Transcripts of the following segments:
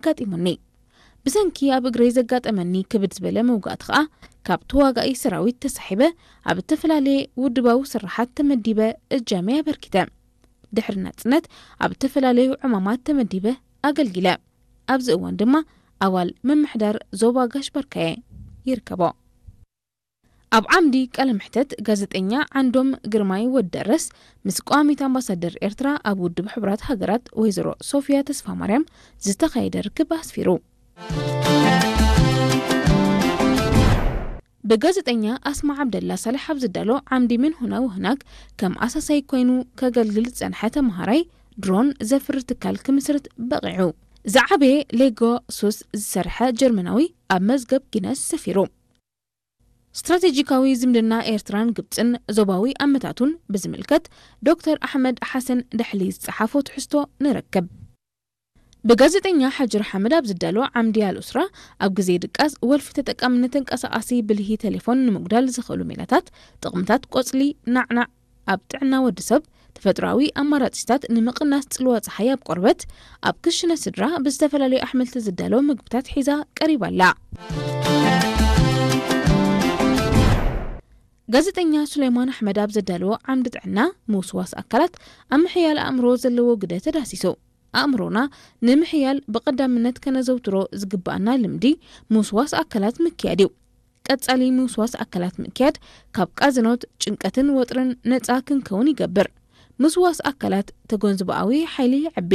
ኣጋጢሙኒ። ብሰንኪ ኣብ እግረይ ዘጋጠመኒ ክብድ ዝበለ መውጋእቲ ከኣ፣ ካብ ተዋጋኢ ሰራዊት ተሳሒበ፣ ኣብ እተፈላለየ ውድባዊ ስራሓት ተመዲበ እጃመይ ኣበርኪተ። ድሕሪ ናጽነት ኣብ እተፈላለዩ ዕማማት ተመዲበ ኣገልጊለ። ኣብዚ እዋን ድማ ኣባል ምምሕዳር ዞባ ጋሽ ባርካየ ይርከቦ። ኣብ ዓምዲ ቃለ መሕተት ጋዜጠኛ ዓንዶም ግርማይ ወደረስ ምስ ቀዋሚት ኣምባሳደር ኤርትራ ኣብ ውድብ ሕቡራት ሃገራት ወይዘሮ ሶፊያ ተስፋማርያም ዝተኻየደ ርክብ ኣስፊሩ። ብጋዜጠኛ ኣስማ ዓብደላ ሳልሕ ኣብ ዝዳሎ ዓምዲ ምን ሁና ወህናክ ከም ኣሳሳይ ኮይኑ ከገልግል ዝጸንሐ ተመሃራይ ድሮን ዘፍሪ ትካል ክምስርት በቒዑ። ዝዓበየ ሌጎ ሶስት ዝሰርሐ ጀርመናዊ ኣብ መዝገብ ጊነስ ሰፊሩ። ስትራቴጂካዊ ዝምድና ኤርትራን ግብጽን ዞባዊ ኣመታቱን ብዝምልከት ዶክተር ኣሕመድ ሓሰን ደሕሊ ዝጸሓፎ ትሕዝቶ ንረክብ። ብጋዜጠኛ ሓጅር ሓመድ ኣብ ዝዳሎ ዓምዲ ኣልኡስራ ኣብ ግዜ ድቃስ ወልፊ ተጠቃምነት ተንቀሳቓሲ ብልሂ ቴሌፎን ንምጉዳል ዝኽእሉ ሜላታት፣ ጥቕምታት ቆጽሊ ናዕናዕ ኣብ ጥዕና ወዲ ሰብ፣ ተፈጥሮኣዊ ኣማራጺታት ንምቕናስ ጽልዋ ጸሓይ ኣብ ቆርበት፣ ኣብ ክሽነ ስድራ ብዝተፈላለዩ ኣሕምልቲ ዝዳሎ ምግብታት ሒዛ ቀሪባ ኣላ። ጋዜጠኛ ሱሌማን ኣሕመድ ኣብ ዘዳለዎ ዓምዲ ጥዕና ምውስዋስ ኣካላት ኣብ ምሕያል ኣእምሮ ዘለዎ ግደ ተዳሲሱ። ኣእምሮና ንምሕያል ብቐዳምነት ከነዘውትሮ ዝግብኣና ልምዲ ምውስዋስ ኣካላት ምክያድ እዩ። ቀጻሊ ምውስዋስ ኣካላት ምክያድ ካብ ቃዝኖት፣ ጭንቀትን ወጥርን ነጻ ክንከውን ይገብር። ምስዋስ ኣካላት ተጎንዝቦኣዊ ሓይሊ የዕቢ፣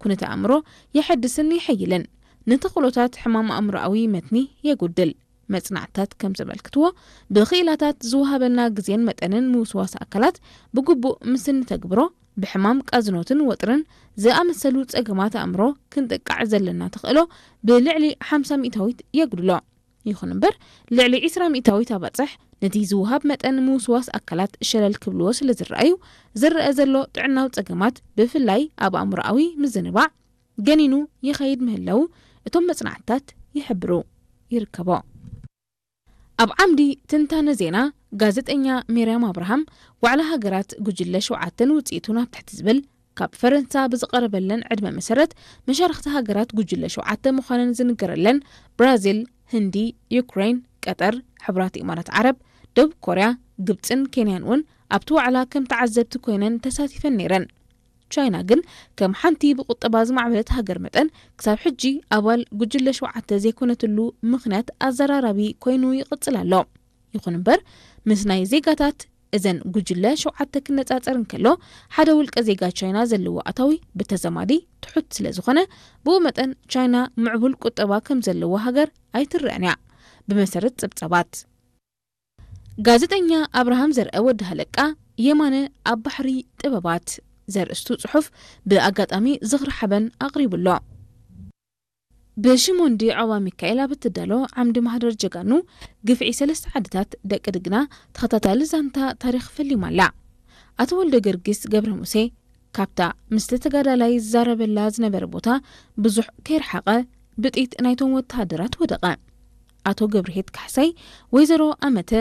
ኩነተ ኣእምሮ የሐድስን የሐይልን፣ ንተኽእሎታት ሕማም ኣእምሮኣዊ መትኒ የጉድል። መጽናዕትታት ከም ዘመልክትዎ፣ ብኽኢላታት ዝወሃበና ግዜን መጠንን ምውስዋስ ኣካላት ብግቡእ ምስ እንተግብሮ፣ ብሕማም ቃዝኖትን ወጥርን ዝኣመሰሉ ጸገማት ኣእምሮ ክንጥቃዕ ዘለና ተኽእሎ ብልዕሊ ሓምሳ ሚእታዊት የጉድሎ። ይኹን እምበር፣ ልዕሊ ዒስራ ሚእታዊት ኣባጽሕ ነቲ ዝወሃብ መጠን ምውስዋስ ኣካላት ሸለል ክብልዎ ስለ ዝረኣዩ፣ ዝረአ ዘሎ ጥዕናዊ ጸገማት፣ ብፍላይ ኣብ ኣእምሮኣዊ ምዝንባዕ፣ ገኒኑ ይኸይድ ምህላዉ እቶም መጽናዕትታት ይሕብሩ። ይርከቦ። ኣብ ዓምዲ ትንታነ ዜና፣ ጋዜጠኛ ሜርያም ኣብርሃም፣ ዋዕላ ሃገራት ጉጅለ ሸውዓተን ውጽኢቱን ኣብ ትሕቲ ዝብል፣ ካብ ፈረንሳ ብዝቐረበለን ዕድመ መሰረት፣ መሻርኽቲ ሃገራት ጉጅለ ሸውዓተ ምዃነን ዝንገረለን ብራዚል፣ ህንዲ፣ ዩክሬን፣ ቀጠር፣ ሕቡራት ኢማራት ዓረብ፣ ደቡብ ኮርያ፣ ግብጽን ኬንያን እውን ኣብቲ ዋዕላ ከም ተዓዘብቲ ኮይነን ተሳቲፈን ነይረን። ቻይና ግን ከም ሓንቲ ብቁጠባ ዝማዕበለት ሃገር መጠን ክሳብ ሕጂ ኣባል ጉጅለ ሸውዓተ ዘይኮነትሉ ምኽንያት ኣዘራራቢ ኮይኑ ይቕጽል ኣሎ። ይኹን እምበር ምስ ናይ ዜጋታት እዘን ጉጅለ ሸውዓተ ክነጻጸር እንከሎ ሓደ ውልቀ ዜጋ ቻይና ዘለዎ ኣታዊ ብተዘማዲ ትሑት ስለ ዝኾነ ብኡ መጠን ቻይና ምዕቡል ቁጠባ ከም ዘለዎ ሃገር ኣይትረአን እያ። ብመሰረት ጸብጻባት ጋዜጠኛ ኣብርሃም ዘርአ ወዲ ሃለቃ የማነ ኣብ ባሕሪ ጥበባት ዘርእስቱ ጽሑፍ ብኣጋጣሚ ዝኽሪ ሓበን ኣቕሪቡ ኣሎ። ብሽሞንዲ ዖባ ሚካኤል ኣብ እትዳሎ ዓምዲ ማህደር ጀጋኑ ግፍዒ ሰለስተ ዓድታት ደቂ ድግና ተኸታታሊ ዛንታ ታሪኽ ፈሊማ ኣላ። ኣቶ ወልደ ገርጊስ ገብረ ሙሴ ካብታ ምስቲ ተጋዳላይ ዝዛረበላ ዝነበረ ቦታ ብዙሕ ከይረሓቐ ብጥይት ናይቶም ወተሃደራት ወደቐ። ኣቶ ገብርሄት ካሕሳይ፣ ወይዘሮ ኣመተ፣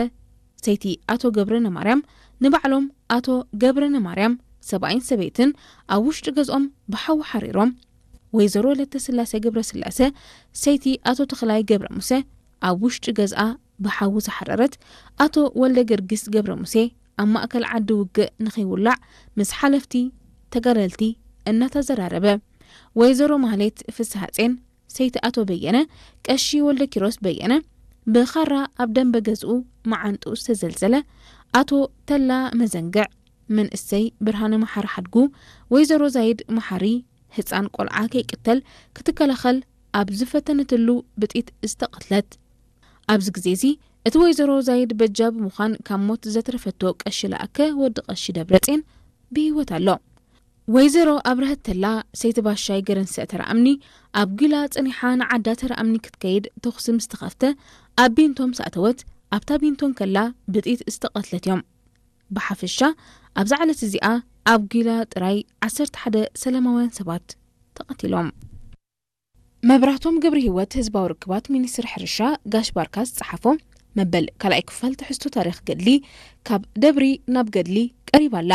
ሰይቲ ኣቶ ገብረነማርያም፣ ንባዕሎም ኣቶ ገብረነማርያም ሰብኣይን ሰበይትን ኣብ ውሽጢ ገዝኦም ብሓዊ ሓሪሮም። ወይዘሮ ለተስላሴ ገብረስላሴ፣ ሰይቲ ኣቶ ተኽላይ ገብረ ሙሴ፣ ኣብ ውሽጢ ገዝኣ ብሓዊ ዝሓረረት፣ ኣቶ ወልደ ገርጊስ ገብረ ሙሴ ኣብ ማእከል ዓዲ ውግእ ንኸይውላዕ ምስ ሓለፍቲ ተጋደልቲ እናተዘራረበ፣ ወይዘሮ ማህሌት ፍስሃጼን ሰይቲ ኣቶ በየነ፣ ቀሺ ወልደ ኪሮስ በየነ፣ ብኻራ ኣብ ደንበ ገዝኡ መዓንጥኡ ዝተዘልዘለ ኣቶ ተላ መዘንግዕ፣ መንእሰይ ብርሃነ መሓሪ ሓድጉ፣ ወይዘሮ ዛይድ መሓሪ፣ ህጻን ቆልዓ ከይቅተል ክትከላኸል ኣብ ዝፈተነትሉ ብጥይት ዝተቐትለት። ኣብዚ ግዜ እዚ እቲ ወይዘሮ ዛይድ በጃ ብምዃን ካብ ሞት ዘትረፈቶ ቀሺ ለኣከ ወዲ ቀሺ ደብረጼን ብህይወት ኣሎ። ወይዘሮ ኣብረሀት ተላ ሰይቲ ባሻይ ገረንሰ ተረኣምኒ ኣብ ጊላ ጸኒሓ ንዓዳ ተረኣምኒ ክትከይድ ተኹሲ ምስ ተኸፍተ ኣብ ቢንቶ ምስ ኣተወት ኣብታ ቢንቶ እንከላ ብጥይት ዝተቐትለት እዮም። ብሓፈሻ ኣብዛ ዕለት እዚኣ ኣብ ጊላ ጥራይ ዓሰርተ ሓደ ሰላማውያን ሰባት ተቐቲሎም። መብራህቶም ገብረ ህይወት ህዝባዊ ርክባት ሚኒስትሪ ሕርሻ ጋሽ ባርካ ዝጸሓፎ መበል ካልኣይ ክፋል ትሕዝቶ ታሪኽ ገድሊ ካብ ደብሪ ናብ ገድሊ ቀሪባ ኣላ።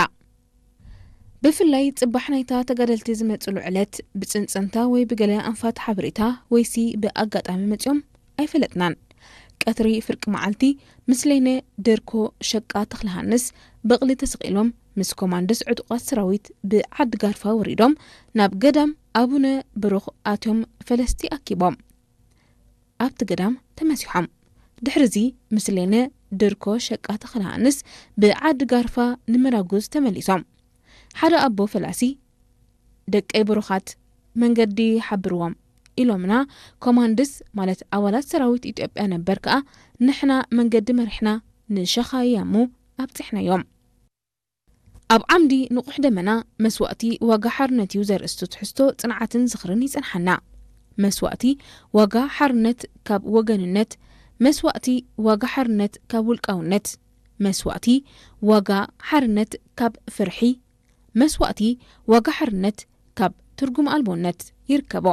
ብፍላይ ጽባሕ ናይታ ተጋደልቲ ዝመጽሉ ዕለት ብጽንጽንታ ወይ ብገለ ኣንፋት ሓበሬታ ወይሲ ብኣጋጣሚ መጺኦም ኣይፈለጥናን። ቀትሪ ፍርቂ መዓልቲ ምስ ሌነ ደርኮ ሸቃ ተኽለሃንስ በቕሊ ተሰቒሎም ምስ ኮማንድስ ዕጡቓት ሰራዊት ብዓዲ ጋርፋ ወሪዶም ናብ ገዳም ኣቡነ ብሩኽ ኣትዮም ፈለስቲ ኣኪቦም ኣብቲ ገዳም ተመሲሖም። ድሕርዚ ምስ ሌነ ደርኮ ሸቃ ተኽለሃንስ ብዓዲ ጋርፋ ንመራጉዝ ተመሊሶም። ሓደ ኣቦ ፈላሲ ደቀይ ብሩኻት መንገዲ ሓብርዎም ኢሎምና። ኮማንድስ ማለት ኣባላት ሰራዊት ኢትዮጵያ ነበር ከኣ ንሕና መንገዲ መሪሕና ንሸኻያሙ ኣብጺሕናዮም። ኣብ ዓምዲ ንቑሕ ደመና መስዋእቲ ዋጋ ሓርነት እዩ ዘርእስቱ ትሕዝቶ ጽንዓትን ዝኽርን ይጸንሓና። መስዋእቲ ዋጋ ሓርነት ካብ ወገንነት፣ መስዋእቲ ዋጋ ሓርነት ካብ ውልቃውነት፣ መስዋእቲ ዋጋ ሓርነት ካብ ፍርሒ፣ መስዋእቲ ዋጋ ሓርነት ካብ ትርጉም ኣልቦነት ይርከቦ።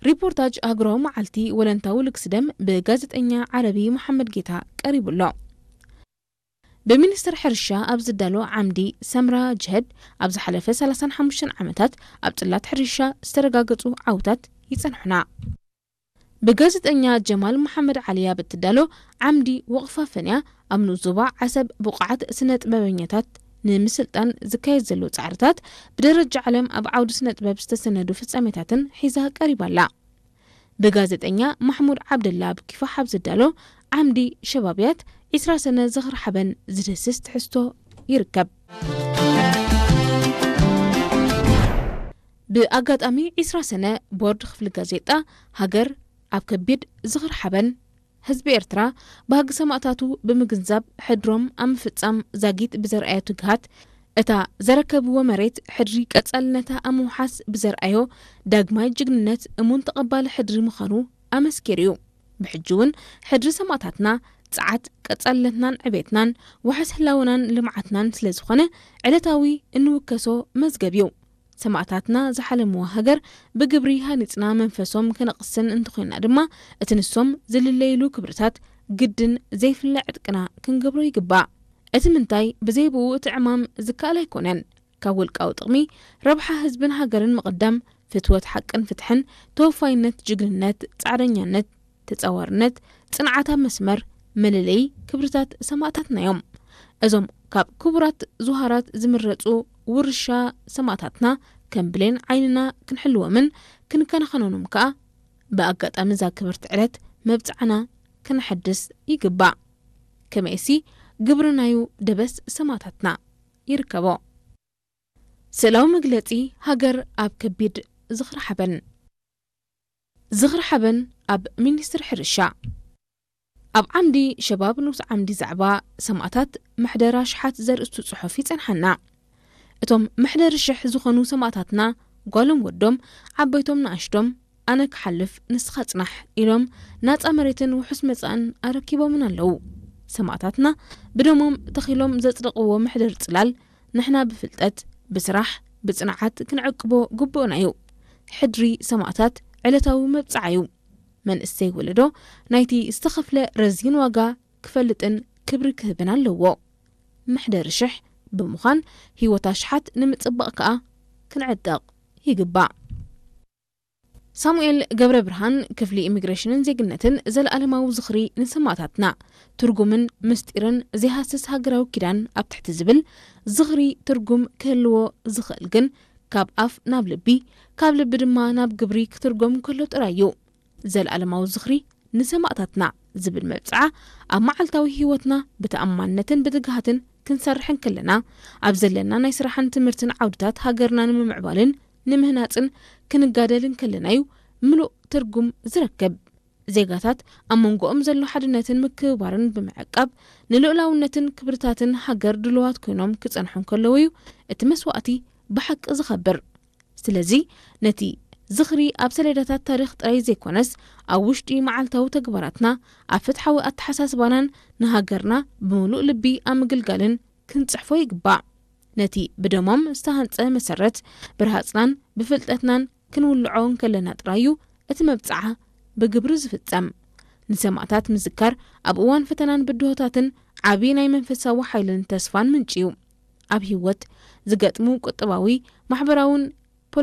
ሪፖርታጅ ኣህጉራዊ መዓልቲ ወለንታዊ ልግሲ ደም ብጋዜጠኛ ዓረቢ መሓመድ ጌታ ቀሪቡ ኣሎ። ብሚኒስትር ሕርሻ ኣብ ዝዳሎ ዓምዲ ሰምራ ጅሀድ ኣብ ዝሓለፈ ሰላሳን ሓሙሽተን ዓመታት ኣብ ጽላት ሕርሻ ዝተረጋገጹ ዓውታት ይጸንሑና። ብጋዜጠኛ ጀማል መሓመድ ዓሊ ኣብ እትዳሎ ዓምዲ ወቕፋ ፈንያ ኣብ ንኡስ ዞባ ዓሰብ ብቑዓት ስነ ጥበበኛታት ንምስልጣን ዝካየድ ዘሎ ጻዕርታት ብደረጃ ዓለም ኣብ ዓውዲ ስነ ጥበብ ዝተሰነዱ ፍጻሜታትን ሒዛ ቀሪባ ኣላ። ብጋዜጠኛ ማሕሙድ ዓብደላ ኣብ ኪፋሕ ኣብ ዝዳሎ ዓምዲ ሸባብያት ዒስራ ሰነ ዝኽሪ ሓበን ዝድህስስ ትሕዝቶ ይርከብ። ብኣጋጣሚ ዒስራ ሰነ ቦርድ ክፍሊ ጋዜጣ ሃገር ኣብ ከቢድ ዝኽሪ ሓበን ህዝቢ ኤርትራ ባህጊ ሰማእታቱ ብምግንዛብ ሕድሮም ኣብ ምፍጻም ዛጊት ብዘርኣዮ ትግሃት እታ ዘረከብዎ መሬት ሕድሪ ቀጻልነታ ኣብ ምውሓስ ብዘርኣዮ ዳግማይ ጅግንነት እሙን ተቐባሊ ሕድሪ ምዃኑ ኣመስኪሩ እዩ። ብሕጂ እውን ሕድሪ ሰማእታትና ጸዓት ቀጻልነትናን ዕቤትናን ዋሕስ ህላወናን ልምዓትናን ስለ ዝኾነ ዕለታዊ እንውከሶ መዝገብ እዩ። ሰማእታትና ዝሓለምዋ ሃገር ብግብሪ ሃኒጽና መንፈሶም ከነቕስን እንተኾይና ድማ እቲ ንሶም ዝልለይሉ ክብርታት ግድን ዘይፍለ ዕጥቅና ክንገብሮ ይግባእ። እቲ ምንታይ ብዘይ ብኡ እቲ ዕማም ዝከኣል ኣይኮነን። ካብ ውልቃዊ ጥቕሚ ረብሓ ህዝብን ሃገርን ምቕዳም፣ ፍትወት ሓቅን ፍትሕን፣ ተወፋይነት፣ ጅግንነት፣ ጻዕረኛነት፣ ተጻዋርነት፣ ጽንዓት ኣብ መስመር መለለዪ ክብርታት ሰማእታትና እዮም። እዞም ካብ ክቡራት ዙሃራት ዝምረጹ ውርሻ ሰማእታትና ከም ብሌን ዓይንና ክንሕልዎምን ክንከናኸኖንም ከኣ ብኣጋጣሚ እዛ ክብርቲ ዕለት መብጽዓና ክነሐድስ ይግባእ። ከመይሲ ግብሪ ናዩ ደበስ ሰማእታትና ይርከቦ። ስእላዊ መግለጺ ሃገር ኣብ ከቢድ ዝኽሪ ሓበን። ዝኽሪ ሓበን ኣብ ሚኒስትሪ ሕርሻ። ኣብ ዓምዲ ሸባብ ንኡስ ዓምዲ ዛዕባ ሰማእታት መሕደር ኣሽሓት ዘርእስቱ ጽሑፍ ይጸንሓና። እቶም መሕደሪ ሽሕ ዝኾኑ ሰማእታትና ጓሎም ወዶም፣ ዓበይቶም ንኣሽቶም፣ ኣነ ክሓልፍ ንስኻ ጽናሕ ኢሎም ናጻ መሬትን ውሑስ መጻእን ኣረኪቦምን ኣለዉ። ሰማእታትና ብደሞም ተኺሎም ዘጽደቕዎ መሕደሪ ጽላል ንሕና ብፍልጠት፣ ብስራሕ፣ ብጽንዓት ክንዕቅቦ ግቡእና እዩ። ሕድሪ ሰማእታት ዕለታዊ መብጽዓ እዩ። መንእሰይ ወለዶ ናይቲ ዝተኸፍለ ረዚን ዋጋ ክፈልጥን ክብሪ ክህብን ኣለዎ። መሕደሪ ሽሕ ብምዃን ህይወት ኣሽሓት ንምጽባቕ ከኣ ክንዕጠቕ ይግባእ። ሳሙኤል ገብረ ብርሃን ክፍሊ ኢሚግሬሽንን ዜግነትን ዘለኣለማዊ ዝኽሪ ንሰማእታትና፣ ትርጉምን ምስጢርን ዘይሃስስ ሃገራዊ ኪዳን ኣብ ትሕቲ ዝብል ዝኽሪ ትርጉም ክህልዎ ዝኽእል ግን ካብ ኣፍ ናብ ልቢ፣ ካብ ልቢ ድማ ናብ ግብሪ ክትርጎም እንከሎ ጥራይ እዩ። ዘለኣለማዊ ዝኽሪ ንሰማእታትና ዝብል መብጽዓ ኣብ መዓልታዊ ህይወትና ብተኣማንነትን ብትግሃትን ክንሰርሕ እንከለና፣ ኣብ ዘለና ናይ ስራሕን ትምህርትን ዓውድታት ሃገርና ንምምዕባልን ንምህናጽን ክንጋደል እንከለና እዩ ምሉእ ትርጉም ዝረክብ። ዜጋታት ኣብ መንጎኦም ዘሎ ሓድነትን ምክብባርን ብምዕቃብ ንልኡላውነትን ክብርታትን ሃገር ድሉዋት ኮይኖም ክጸንሑ እንከለዉ እዩ እቲ መስዋእቲ ብሓቂ ዝኸብር። ስለዚ ነቲ ዝኽሪ ኣብ ሰሌዳታት ታሪኽ ጥራይ ዘይኮነስ ኣብ ውሽጢ መዓልታዊ ተግባራትና፣ ኣብ ፍትሓዊ ኣተሓሳስባናን ንሃገርና ብምሉእ ልቢ ኣብ ምግልጋልን ክንጽሕፎ ይግባእ። ነቲ ብደሞም ዝተሃንጸ መሰረት ብርሃጽናን ብፍልጠትናን ክንውልዖ እንከለና ጥራይ እዩ እቲ መብጽዓ ብግብሪ ዝፍጸም። ንሰማእታት ምዝካር ኣብ እዋን ፈተናን ብድሆታትን ዓቢ ናይ መንፈሳዊ ሓይልን ተስፋን ምንጪ እዩ። ኣብ ህይወት ዝገጥሙ ቁጠባዊ፣ ማሕበራውን